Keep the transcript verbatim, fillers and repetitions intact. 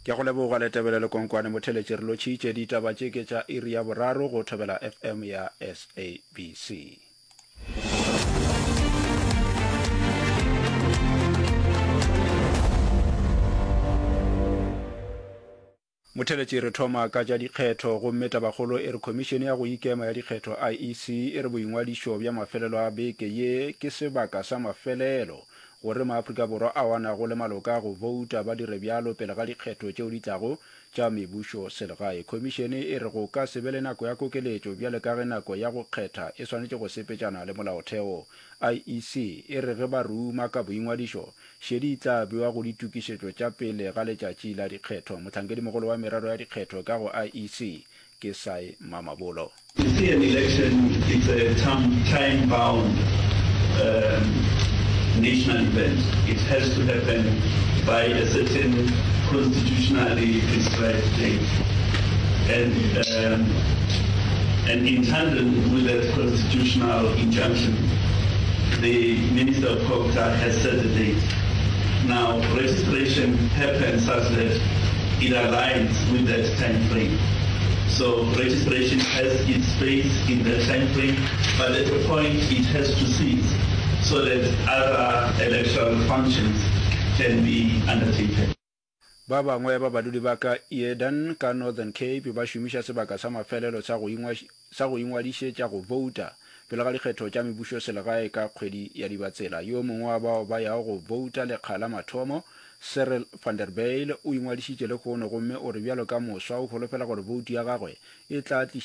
Ke go leboga Letebele Lekonkwane Motheletše re lotšhitše ditaba tše ke tša iri ya boraro go Thobela FM ya SABC. Motheletši re thoma ka tša dikgetho gomme tabakgolo e re Khomišene ya go Ikema ya Dikgetho, IEC, e re boingwadišo bja mafelelo a beke ye ke sebaka sa mafelelo gore maAfrika Borwa ao a nago le maloka a go bouta ba dire bjalo pele ga dikgetho tšeo di tlago tša mebušo selegae. Khomišene e re go ka se be le nako ya kokeletšo bjale ka ge nako ya go kgetha e swanetše go sepetšana le molaotheo. IEC e re ge ba ruma ka boingwadišo, šedi e tla bewa go ditokišetšo tša pele ga letšatši la dikgetho. Mohlankedimogolo wa merero ya dikgetho ka go IEC ke Sy Mamabolo. You see an election it's a time bound um, national event. It has to happen by a certain constitutionally prescribed date. And, um, and in tandem with that constitutional injunction, the Minister of COGTA has set a date. Now, registration happens such that it aligns with that time frame. So registration has its space in that time frame, but at a point it has to cease so that other electoral functions can be undertaken. Ba bangwe ba badudi ba ka Eden ka Northern Cape ba šomiša sebaka sa mafelelo sa go sa go ingwadišetša go bouta pele ga dikgetho tša mebušoselegae ka kgwedi ya Dibatsela. Yo mongwe wa bao ba yago go bouta lekga la mathomo, Cyril van der Bijl, o ingwadišitše lehono gomme o re bjalo ka moswa o holofela gore boutu ya gagwe e tla tliša